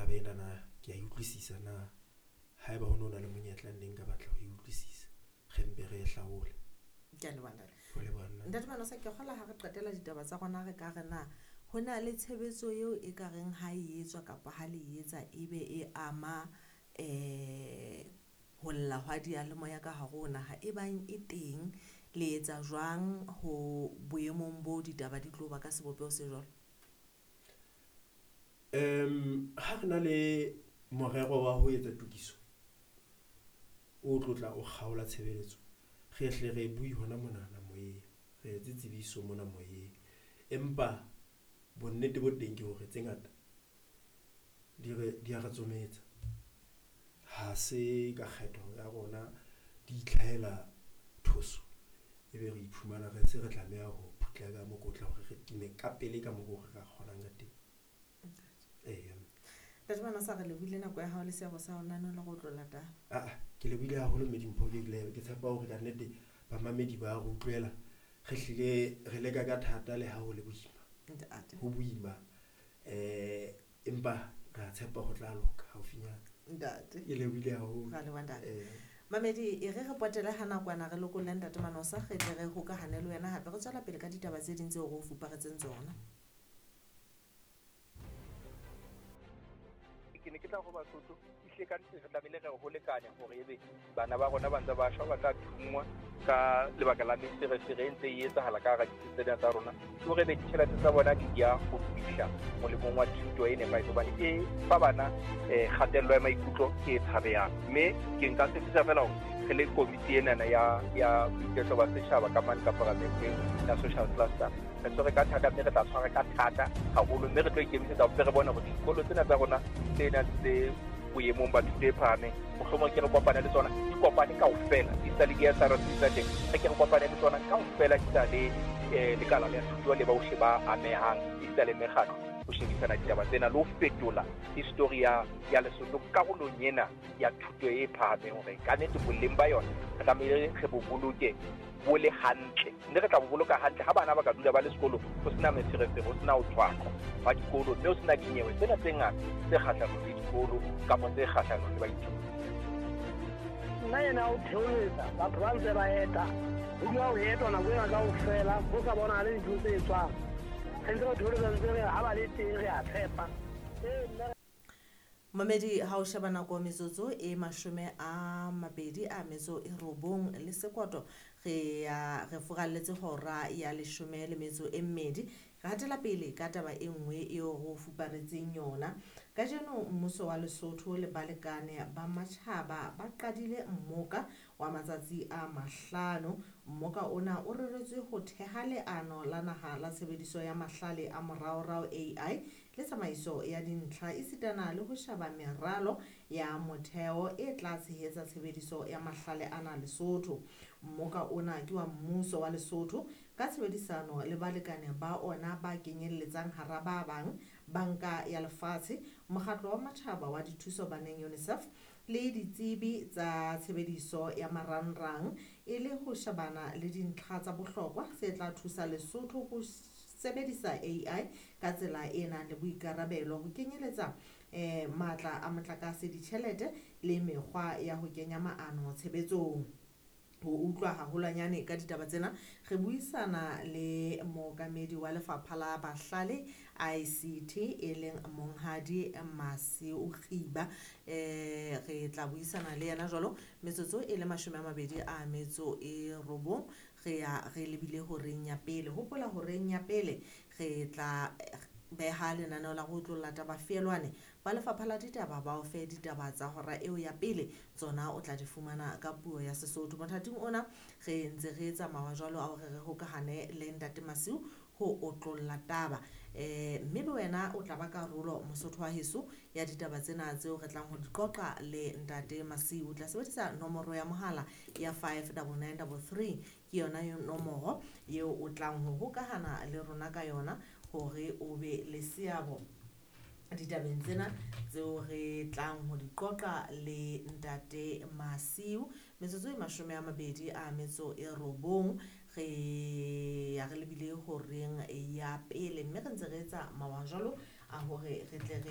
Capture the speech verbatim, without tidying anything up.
Taba ena na ke a e utlwisisa na? Haeba ho no na le monyetla nne nka batla ho e utlwisisa, re mpe re e hlaole. Ke a leboha ntate. Ho leboha nna. Ntate Manosa, ke kgola ha re qetela ditaba tsa rona re ka re na ho na le tshebetso eo e ka reng ha e etswa kapa ha le etsa ebe e ama eh ho lla hwa diyalemoya ka hare ho naha, e bang e teng le etsa jwang ho boemong bo ditaba di tlo ba ka sebopeho se jwalo? Um ha re na le morero wa ho etsa tokiso o tlotla o kgaola tshebeletso, re hle re bue hona monana moyeng, re etse tsebiso mona moyeng. Empa bonnete bo teng ke hore tse ngata di re di a re tsometsa. Ha se ka kgetho ya rona, di itlhahela thoso, ebe re iphumana re se re tlameha ho phutla ka mokotla hore re time ka pele ka mokgo re ka kgonang ka teng. Eya. Ntate Manosa, re lebohile nako ya hao le seabo sa hao nano le go tlola taba. Ah, ke lebohile haholo mme Dimpho, ke le ke tshepa hore ka nnete bamamedi ba re utlwela. Re hlile re leka ka thata le ha ho le boima. Ntate. Ho boima. Eh empa re a tshepa ho tla loka haufinyana. Ntate. Ke lebohile haholo. Ra leboha ntate. Eh. Mamedi, e re re potele ha nakwana re lokolle ntate Manosa, re tle re hokahane le wena hape re tswela pele ka ditaba tse ding tseo re o fuparetseng tsona. Ke ne ke tla ho Basotho, ehlile ka nnete re tlamehile re ho lekane hore ebe bana ba rona ba ntse ba shwa, ba tla thunngwa ka lebaka la meferefere e ntse e etsahala ka hara ditsi tsena tsa rona. Ke hore ebe ditjhelete tsa bona di ya ho fihla molemong wa thuto e nepahetseng, hobane e fa bana, eh, kgatello ya maikutlo e tshabehang. Mme ke nka tshepisa feela hore re le komiti enana ya, ya boiketlo ba setjhaba ka mane ka paramenteng ya social cluster, re tshwere ka thata mme re tla tshwara ka thata haholo, mme re tlo ikemisetsa hore re bone hore dikolo tsena tsa rona tse nang tse boemong ba thuto e phahameng, mohlomong ke re kopane le tsona, di kopane kaofela, di sa le di-S R C tsa teng, re ke re kopane le tsona kaofela, di sa le, eh, lekala la thuto le bohle ba amehang, di sa le mekgatlo, ho shebisana ditaba tsena le ho fetola history ya, ya Lesotho karolong ena ya thuto e phahameng, hore ka nnete boleng ba yona re tlamehile re bo boloke bo le hantle, mme re tla bo boloka hantle ha bana ba ka dula ba le sekolo, ho sena meferefere, ho sena ho tshwaqwa ba dikolo, mme ho sena dinyewe tsena tse ngata tse kgahlanong le dikolo kapa tse kgahlanong le baithuti. Nna ena o theoletsa batho ba ntse ba eta, ho dula ho etwa nako ena kaofela, ho sa bonahale dintho tse etswang. Re ntse re theoletsa ntse re ha ba le teng re a tshepa. Ee, nna Mamedi, ha o sheba nako metsotso e mashome a mabedi a metso e robong le sekoto, re ya re furalletse hora ya leshome le metso e mmedi. Re hatela pele ka taba e nngwe eo re o fuparetseng yona. Kajeno mmuso wa Lesotho le balekane ba matjhaba ba qadile mmoka wa matsatsi a mahlano. Mmoka ona o reretswe ho theha leano la naha la tshebediso ya mahlale a moraorao A I le tsamaiso ya dintlha, esitana le ho sheba meralo ya motheo e tla tshehetsa tshebediso ya mahlale ana Lesotho. Mmoka ona ke wa mmuso wa Lesotho ka tshebedisano le balekane ba ona ba kenyelletsang hara ba bang Banka ya Lefatshe, Mokgatlo wa Matjhaba wa Dithuso Baneng UNICEF le ditsebi tsa tshebediso ya marangrang, e le ho shebana le dintlha tsa bohlokwa tse tla thusa Lesotho ho sebedisa A I ka tsela e nang le boikarabelo, ho kenyeletsa, eh, matla a motlakase, ditjhelete le mekgwa ya ho kenya maano tshebetsong. Ho utlwa haholwanyane ka ditaba tsena, re buisana le mookamedi wa lefapha la Bahlale I C T e leng Monghadi Masiu Kgiba. Eh, re tla buisana le yena jwalo metsotso e le mashome a mabedi a metso e robong, re ya re lebile horeng ya pele. Hopola horeng ya pele re tla beha lenaneo la ho otlolla taba feelwane ba lefapha la ditaba ba o fe ditaba tsa hora eo ya pele, tsona o tla di fumana ka puo ya Sesotho. Mothating ona re ntse re tsamaya jwalo a hore re hokahane le Ntate Masiu ho otlolla taba. Eh, mme le wena o tla ba karolo Mosotho wa heso ya ditaba tsena tseo re tlang ho di qoqa le Ntate Masiu. O tla sebedisa nomoro ya mohala ya five double nine double three, ke yona nomoro eo o tlang ho hokahana le rona ka yona hore o be le seabo ditabeng tsena tseo re tlang ho di qoqa le Ntate Masiu. Metsotso e mashome a mabedi a metso e robong re ya re lebile horeng ya pele, mme re ntse re etsa mawa jwalo a hore re tle re